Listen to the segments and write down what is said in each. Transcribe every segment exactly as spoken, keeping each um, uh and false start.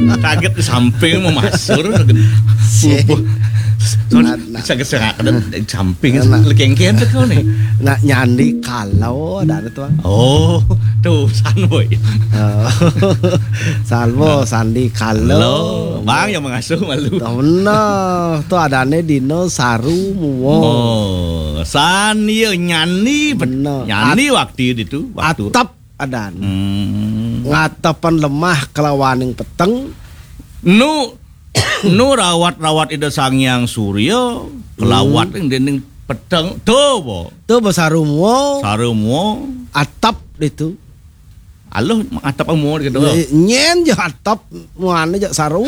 Kaget di samping mau masur. Sih. Soalnya bisa geserak di samping, lekengken tuh kau nih. Nak nyandi kalau ada tuh. Oh, tuh san boy. Oh. Salvo, sandi kalau. Lo, bang yang mengasuh malu. Tuh bener, tuh adane dino saru muwo. Oh, san iya nyandi, bet- Bener. Nyandi waktu itu, waktu. Atep adan. Hmm. Ngatepan lemah kelawaning peteng. Nu, nu rawat-rawat Ida Sang Hyang Surya, kelawat Hmm. Ning dening peteng. Tuh, bo. Tuh, bo saru muwo. Saru muwo. Atep itu. Aluh, atep muwo gitu. Nyen ya atep, muane jak saru.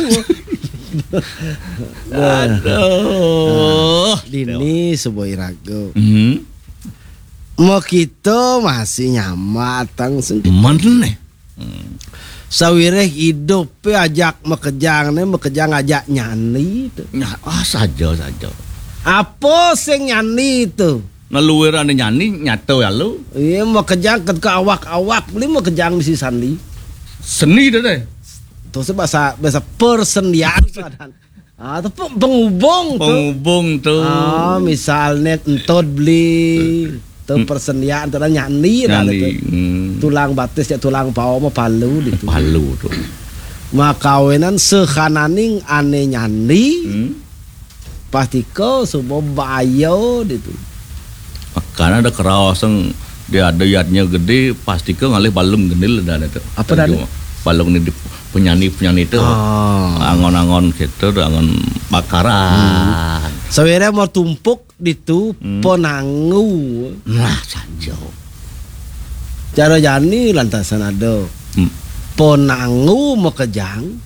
Aduh. Dini subuh iraga. Hmm. Makita masih nyamatang sing. Meneh. Hmm. Sawireh idupe ajak makejang ne, makejang ajak nyandi tu. Nah, ah, saja, saja. Apa sing nyandi tu? Neluwirane nyandi nyata ya lu. Iya, makejang ke, ke awak-awak, beli makejang di sandi. Seni tu deh. Tu se bahasa, bahasa persendian. Ah, tu pe-, penghubung tu. Penghubung tu. Ah, misalnya entod beli tu Hmm. persendian tu nyandi dah Nyandi. Tu. Hmm. Tulang batis ya tulang paha mah palu di tu. Palu tu. Makawinan sehananing ane nyandi. Hmm. Pastika suba baya di tu. Makana ada keraos sing dia ada yadnya gede, pastika ngalih balung genil dah tu. Apa dah tu? Balung ni di penyanyi-penyanyi tu. Ah. Angon-angon gitu, angon bakaran. Hmm. Sawire mau tumpuk di tu Hmm. penangu. Nah, sanjo. Cara jani lantasan ada. Hmm. Penangu makejang,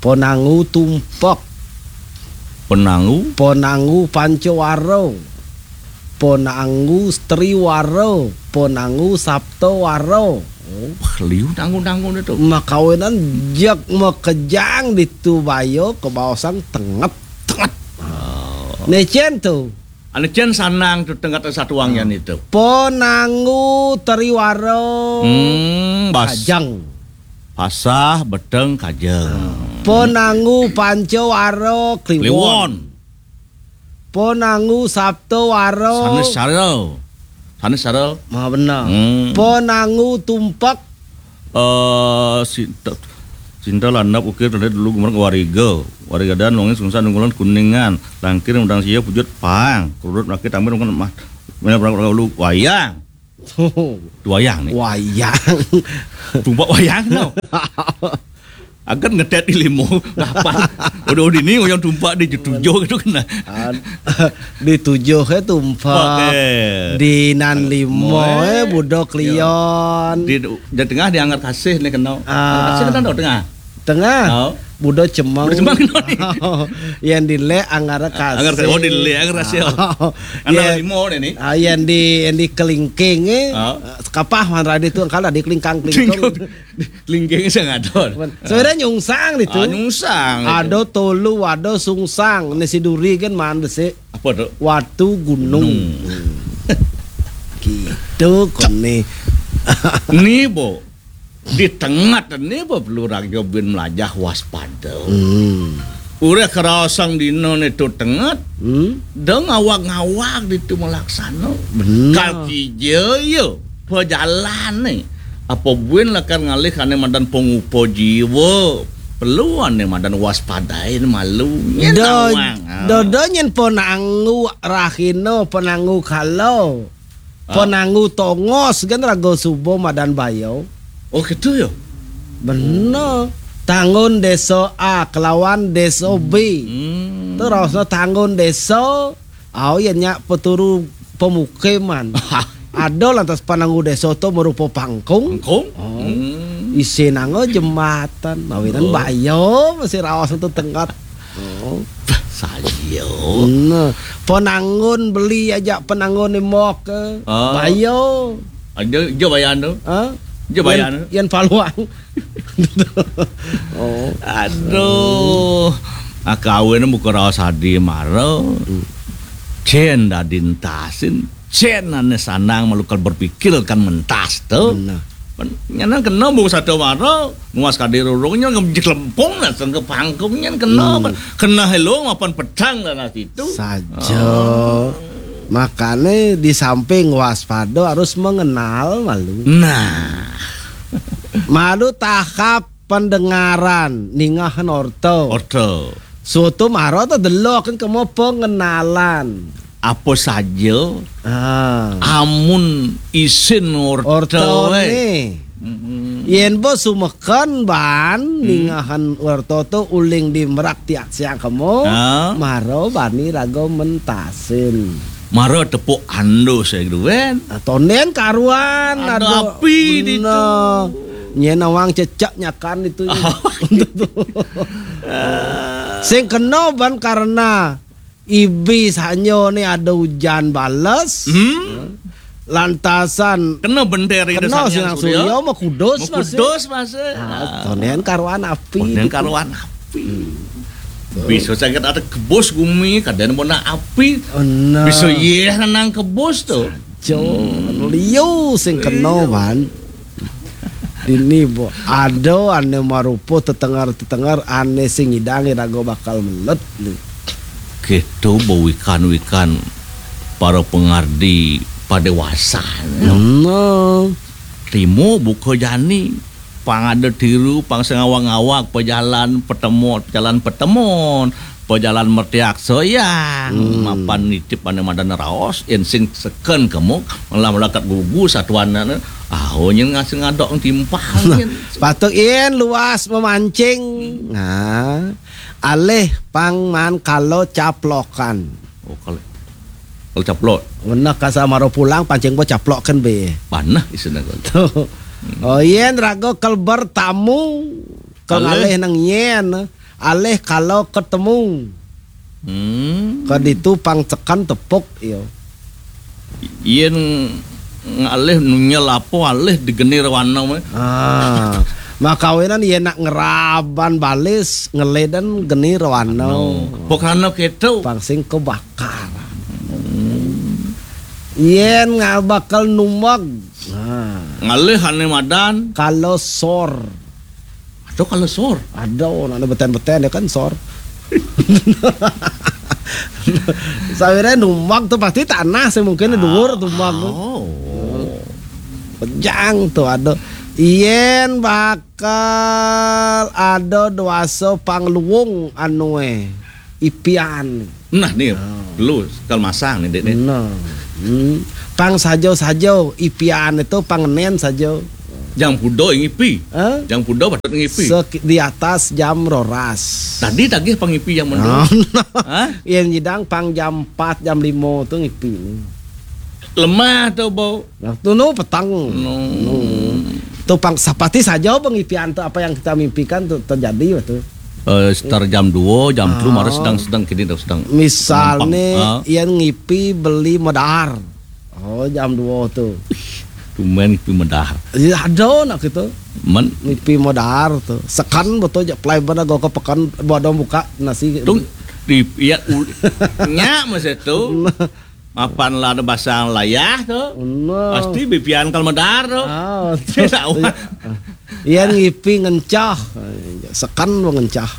penangu tumpek. Penangu? Penangu pancawara. Penangu striwara. Penangu saptawara. Oh, liu nangu-nangu ni tu. Makawinan jak makejang di tu baya kebaosang tenget. Tenget. Oh. Necen tu. Ane cen sanang tu tenget satuang yan itu. Penangu triwara. Hmm, bas. Kajeng. Pasah beteng kajeng. Penangu pancawara kliwon. Kliwon. Ponangu sapta wara. Sanes sarel. Sanes sarel. Mah benar. Hmm. Ponangu tumpek. Eh, sinta, sinta landap ukir tadi dulu gumerang wariga. Wariga dan wonge sungsan unggulan kuningan. Langkir mudang sia pujut pang. Kerudut laki tampil mungkin mah. Mana perang perang dulu wayang. Wayang nih. Wayang. Tumpek wayang no. Akan ngetet di limo. Dapat. Udah, udah ini yang tumpek di tujuh gitu kena. Ad-, di tujuh eh tumpek. Pakai. Di nan limo eh budok lion. Di, di tengah di anggar kasih nih kena. Ah. Anggar kasih kena tengah. Tengah. Oh. Budo cemeng. Budo cemeng, no, ni. Yang dilek anggar kasih. Anggar kasih. Oh, dilek anggar kasih. Oh. Anggar limo deh ni. Ah, yang di, yang di kelingking eh. Oh. Kapah man rade tu angkala di kelingkang kelingkong. Kelingking sing ada. Sebenarnya nyungsang itu. Ah, nyungsang itu. Ada tolu, ada sungsang. Ni si duri kan man desi. Apa tu? Watu gunung. Gunung. Gitu kone. Ni, Bo. Di tengah ni, Bo, perlu raga bin melajah waspada. Hmm. Ureh kerasang dina ni tu tengah. Hmm. Deng awak-ngawak di tu melaksana. Benar. Kal kija ya. Pejalan ni. Apa buin lakar ngalih ane madan pengupa jiwa. Perlu ane madan waspadain malu. Nyen do, awang, ah. Do, do nyen ponangu rahina, ponangu kala. Ah. Ponangu tongos kan raga suba madan baya. Oh, gitu ya? Bener. Tangun desa A kelawan desa B. Hmm. Terusnya tangun desa Au ya nyak peturu pemukiman. Ada lantas pananggu desa tu merupa pangkung. Pangkung? Oh. Hmm. Isinanga jembatan. Mawinan baya masih raos tu tenggat. Oh. Sayo. Nah, penanggun beli aja penanggun ni mok. Ah. Baya. Aja, aja bayan tu. Ha? Aja bayan tu. Yan paluang. Oh. Aduh. Ah, kawin buka raos adi mara. Hmm. Cen dadi entasin. Cen ane sanang malukal berpikir kan mentas tu. Benar. Nyan kena bung satu mara, nguas kadi rurung nyan ngemjek lempung lah sengke pangkung nyan kena. Hmm. Kena helung mapan pedang lah nasi tu. Saja. Oh. Makane di samping waspada harus mengenal malu. Nah. Malu tahap pendengaran, ningahan orta. Orta. Soto mara ta deloken kemo pengenalan. Apa saja? Ah. Amun isin orta, ortane. Weh. Mm-mm. Yen bo sumeken ban, hmm, ningahan orta tu uling di merak tiak siang kemo, ah, mara bani raga mentasin. Mara tepuk andus ya gitu kan. Ah, tonden karuan, ada api di tu. Nyen awang cecak nyakan itu. Oh. Sing kena ban karena ibis hanya ni ada hujan bales. Hmm. Lantasan kena benter itu kena sinang surya, makudus masa. Makudus masa. Ah, tonden karuan api. Tonden karuan api. Hmm. Bisa sakit ada kebus gumi, kadang mana api. Oh, nah. Bisa yeh nang kebus tu. Jo, hmm, liu sing kena, iya, ban. Dini bo, ada ane marupa tetenger-tetenger ane sing ngidang iraga bakal melet ni. Keto bo wikan-wikan para pengardi padewasa. Nah. Trimo buka jani. Pang ada tiru, pang sengawang-awak, pejalan petemon, pejalan petemon, pejalan mertiak soyang. Hmm. Mapan nitip ane madan raos, yen sing seken kemo, malah melakat gugu satuan ane. Ah, oh, nyen ngasih ngadok timpal, nah, nyen. Patut yen luas memancing. Hmm. Nah, alih pang man kalo caplokan. Oh, kalo, kalo caplok. Weneh kasa maro pulang, pancing bo caplok kan be. Panah isine kalo. Tuh. Hmm. Oh, yen raga kal bertamu, kal alih, ngalih nang yen, alih kalo ketemu. Hmm. Ke ditu pang ceken tepuk, yo. Yen ngalih nunyel apa alih digenir wana meh. Ah, makawinan yen nak ngeraban balis, ngeledan genir wana. No. Pokrana keto. Pang sing kebakar. Hmm. Yen ngal bakal numeg. Nah. Ngalih ane madan. Kalo sor. Ada kalo sor. Ada, nak ada beten-beten ya kan sor. Sawire numeg tu pasti tanah sih mungkin dhuwur tu mag tu. Oh. Pejang tu ada. Yen bakal ada dewasa pangluwung anu eh. Ipian. Nah, ni, ah, lu kal masang ni, Dek, ni. Nah. Hmm. Pang sajo-sajo, ipian itu pang nen sajo. Jam pudo ngipi. Hah? Jam pudo patut ngipi. Sek-, di atas jam roras. Tadi tagih pang ngipi jam mendo. Nah, nah. Hah? Yang nyidang pang jam empat, jam lima tu ngipi ni. Lemah tu bau. Nah, tu nu petang. No. Nu. Tu pang sapati saja pengipian tu apa yang kita mimpikan tu terjadi tu. Eh, sekitar jam dua, jam telu, ah, mara sedang, sedang kini dah sedang. Misal ni, ah, yang ngipi beli medar. Oh, jam dua tu. Ih, tumen ngipi medar. Ya, ada nak kita. Men. Ngipi medar tu. Sekan betul je, pelai benda gua ke pekan, bodoh buka nasi. Tu, di, ya, u-, nya masa tu. Mapan lah ada basang layah tu. Nah. Pasti bipian kal medar tu. Ah, betul. Tahu. Iya ngipi ngencah. Sekan lo ngencah.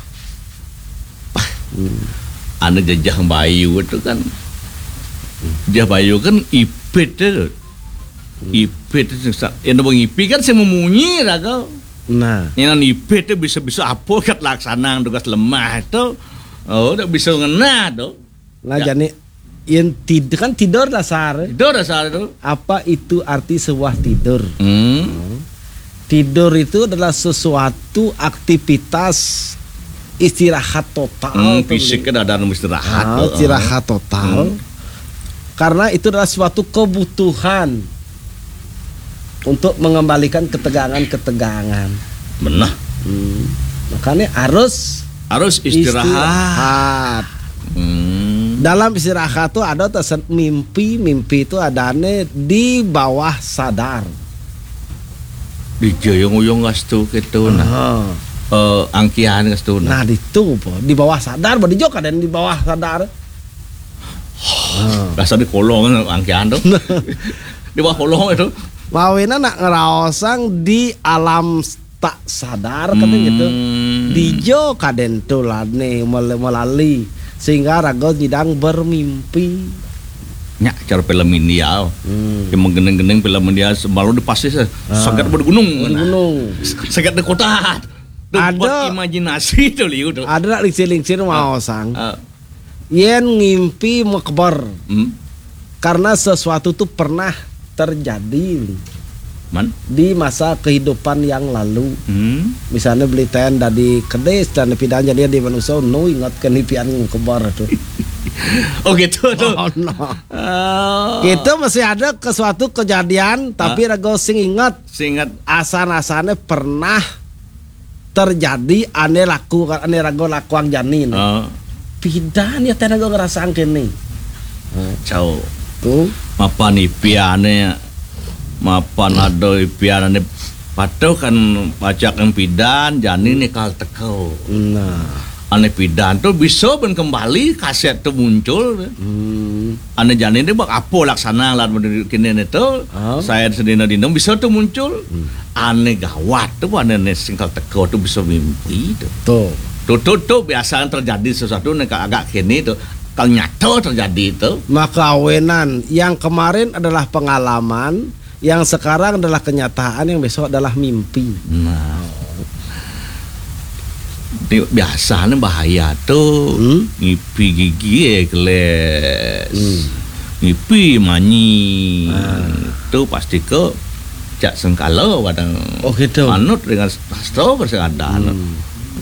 Hmm. Anu jejah bayu tu kan. Jejah bayu kan ipit tu. Hmm. Ipit tu sa-, yang ngipi kan sing memunyi lah kau. Nah. Yang ipit tu bisa-bisa apa kat laksana tugas lemah tu. Oh, tak bisa ngena tu. Nah, ya. Jani, yang tid-, kan tidur dasar. Tidur dasar tu. Apa itu arti sebuah tidur? Hmm. Hmm. Tidur itu adalah sesuatu aktivitas istirahat total. Hmm, fisik kan ada anu istirahat. Ah, heeh. Istirahat total. Hmm. Karena itu adalah suatu kebutuhan untuk mengembalikan ketegangan-ketegangan. Benar. Hmm. Makanya harus harus istirahat. Istirahat. Hmm. Dalam istirahat tu ada tesen mimpi, mimpi tu adane di bawah sadar. Di jayung-uyung kastu gitu nah. Aha. Eh, angkian kastu nah. Nah, ditu po, di bawah sadar, badi jo kadang di bawah sadar. Dasar di kolong angkian tu. Di bawah kolong itu. Mawinan nak ngraosang di alam tak sadar, katanya gitu. Hmm. Dija kadén to lah né mel-, melali sehingga raga nyidang bermimpi. Nyak cara film India. Hmm. Yang menggening-gening film India, semalu di pasir, ah, sagat di gunung. Di gunung. Sagat di kota. Ada imajinasi to liu to. Ada nak lingsir-lingsir maosang. Ah. Yén ngimpi makeber. Hmm. Karena sesuatu tuh pernah terjadi, Li. Man? Di masa kehidupan yang lalu. Hmm. Misalnya beli ten dari kedis dan pidan jadi di manusia nu ingat ke nipian kebar tuh. Oh gitu tuh. Oh, no. Oh. Kita masih ada ke suatu kejadian, tapi raga sing ingat. Sing ingat. Asan-asannya pernah terjadi ané laku, ané raga lakuang jani né. Ah. Pidan ya ten raga ngrasang kéné. Cau. Tuh. Mapan ipiané, mapan ada ipiané patuh kan pacak pidan jani né kal teka. Nah. Ané pidan to bisa bén kembali kasét to muncul. Hmm. Ané jani né bak apa laksana lan kéné né to. Ah. Saya sedina-dina bisa to muncul. Hmm. Ané gawat to, ané né sing kal teka to bisa mimpi to. To. To, to, to biasa terjadi sesuatu né agak kéné to. Kal nyata terjadi to. Maka awinan yang kemarin adalah pengalaman, yang sekarang adalah kenyataan, yang besok adalah mimpi. Nah. Ini biasanya bahaya to. Hmm? Ngipi gigi, eh, keles. Hmm. Ngipi manyi. Ah. To pasti ke cak sengkala kadang. Oh, gitu. Manut dengan sastra bersekadar. Hmm.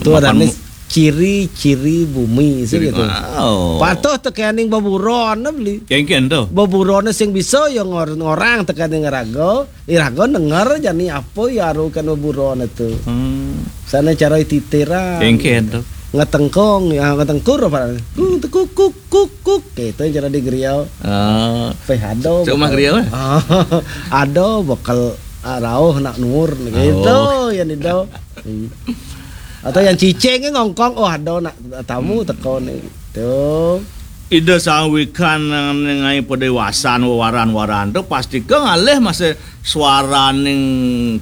To mapan ada nih mu- ciri-ciri bumi sih. Ciri, gitu. Wow. Patuh tekening beburon beli. Kengken to. Beburon sing bisa ya ngor-, ngorang tekening raga, iraga denger jani apa ya arukan beburon itu. Hmm. Sana cara titiran. Kengken to. Ngetengkong, ya ngetengkur apa? Kuk, kuk, kuk, kuk, kuk. Gitu cara di griau. Ah. Peh ado. Cuma bekal griau, eh? Ah, ado bekal, ah, rauh nak nur gitu. Oh. Ya ado. Hmm. Atau yang cicing ngongkong, oh, ada nak tamu teko nih. Tuh. Ida sawikan ngai padewasan waran-waran tu pasti ke ngalih masih suaraning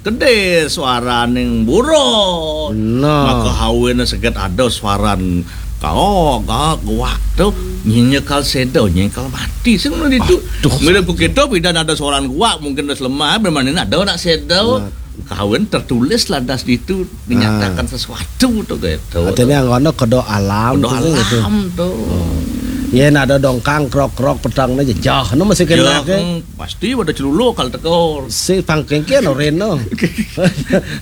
kedis, suaraning buron. Nah. Maka hawin seget ada suaran kau gak guak tu nyenyekal sedo, nyenyekal mati. Sing ngono ditu. Aduh. Mila ku kita pidan ada suaran guak mungkin wis lemah, bermanin ada nak sedo. Nah. Kawin tertulis lantas ditu dinyatakan sesuatu to gitu. Artinya ngono kedo alam. Kedo to, gitu. Alam to. Oh. Yén ada dongkang krok-krok pedang aja jah, no masih kena. Ya, ke? Hmm, pasti pada celuluk kal tekor. Si pangkengke no reno.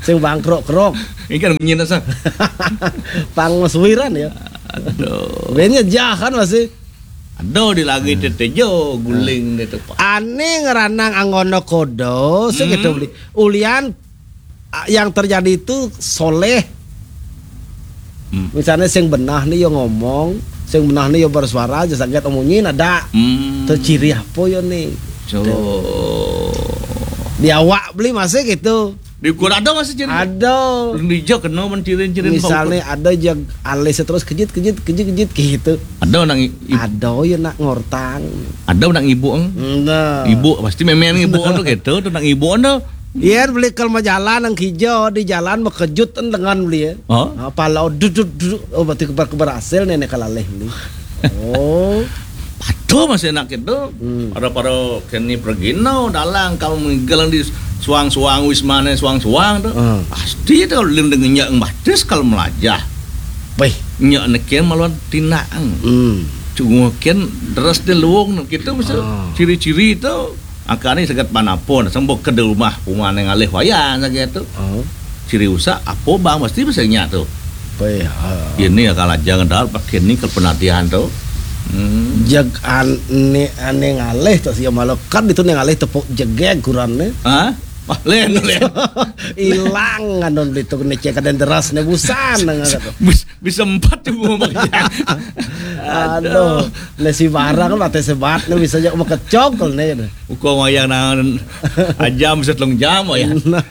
Sing bangkrok-krok. Ini kan bunyi nasa. Pang meswiran ya. Aduh. Bennya jah kan masih. Aduh, di lagi tetejo guling gitu, Pak. Ane ngeranang anggono kodo, sing gitu beli. Ulian, a, yang terjadi itu soleh. Hmm. Misalnya sing benah nih yo ngomong, sing benah nih yo bersuara aja saget omonyin ada. Hmm. Tuh ciri apa yo nih? So. Tuh. Di awak beli masih gitu. Di ukur ada masih ciri? Ada. Belum dijak kena mencirin-cirin. Misalnya ada jag alis terus kejit, kejit, kejit, kejit gitu. Ada nang i-, i- Ada ya nak ngortang. Ada nang ibu, eng? Enggak. Ibu pasti memang ibu tu gitu, tu nang ibu tu. Iya, beli kalau mau jalan nang hijau di jalan mekejut en dengan beli ya. Oh? Apa lo duduk duduk, oh, berarti kebar kebar hasil nenek kalaleh beli. Oh. Patuh masih enak gitu. Hmm. Para-para keni pergi no dalang kalau menggalang di suang-suang wismane suang-suang tu. Hmm. Pasti tu lin dengan nyak batis kalau melajah. Baik. Nyak nekian maluan tindak. Hmm. Cuma kian deras di luung gitu, misal ciri-ciri tu. Angkane sekat panapun, sembok ke di rumah, rumah neng alih wayah saja tu. Oh. Ciri usak apa bang mesti bisa nyak tu. Baik, ha. Ini akal aja ngendal pakai ni ke penatian tu. Hmm. Jag an-, ne, ane ngalih tu sia malah kan itu neng alih tepuk jegeg kurang ni. Hah? Wah, lain, lain. Hilang kan don beli tu ne cek ada deras ne busan nang kata. Bus Bisa empat tu gua pakai. Aduh, nasi barang kan mate sebat ni bisa jak makecok ni. Uko wayang nang ajam bisa telung jam wayang. Nah.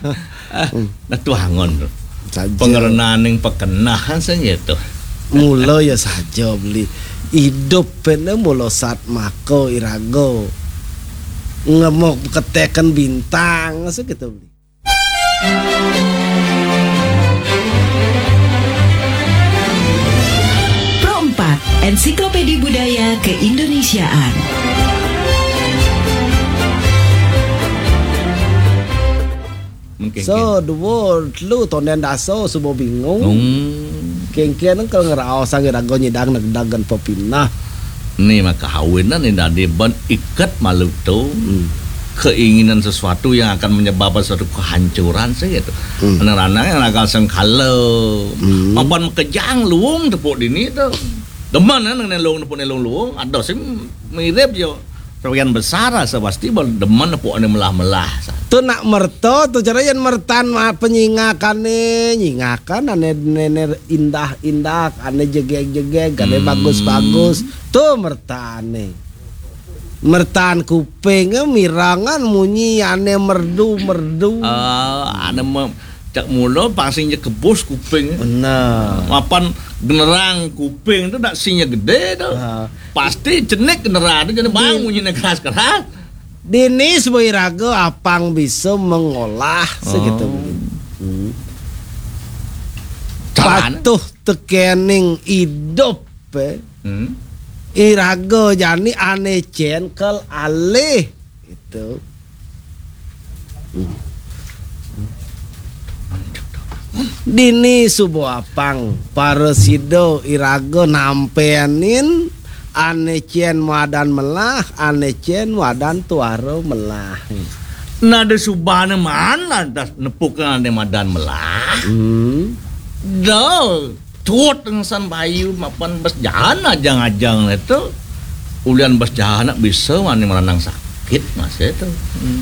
Ah, nah tu hangon tu. Saja. Pengerenaning pekenahan saja tu. Mula ya saja beli. Hidup pene mula sat mako irago. Ngemok keteken bintang, segitu. Pro empat, Ensiklopedi Budaya Keindonesiaan. Mungkin. So, duo, telu, tonden daso, suba bingung. Hmm. Kéngkén kalau ngeraos sang iraga nyidang negdag ngen pepinah. Ni maka awinan ni dadi ban iket malu tu. Hmm. Keinginan sesuatu yang akan menyebabkan suatu kehancuran sih gitu. Hmm. Anak-anak yang nakal sengkala. Hmm. Apan makejang luung tepuk dini tu. Demen kan nang luung tepuk ni luung-luung. Ada sih mirip jo. Sebagian besar rasa pasti bal-, demen tepuk ni melah-melah. Tu nak merta tu cara yang mertan ma-, penyingakan ni, nyingakan ane, ane, ane indah-indah, ane jegeg-jegeg, ane Hmm. bagus-bagus. Tu mertan ni. Mertan kuping, eh, mirangan munyi ane merdu-merdu. Ah, ane me-, cak mula pang sing je kebus kuping. Benar. Apan generang kuping tu dak sing je gede tu. Ha. Pasti cenik generang tu jadi bang Di- munyi ne keras-keras. Dini suba iraga apang bisa mengolah segitu. Oh. Hmm. Carane? Patuh tekening idup, eh. Hmm. Iraga jani ane cengkel alih. Itu. Hmm. Dini suba apang, para sida iraga nampenin ane cen madan melah, ane cen madan tuara melah. Nada subane maan lantas nepuk ane madan melah. Hmm. Da, tut ngsan bayu mapan bes jahan ajang-ajang le tu. Ulian bes jahan nak bisa mani meranang sakit masih tu. Hmm.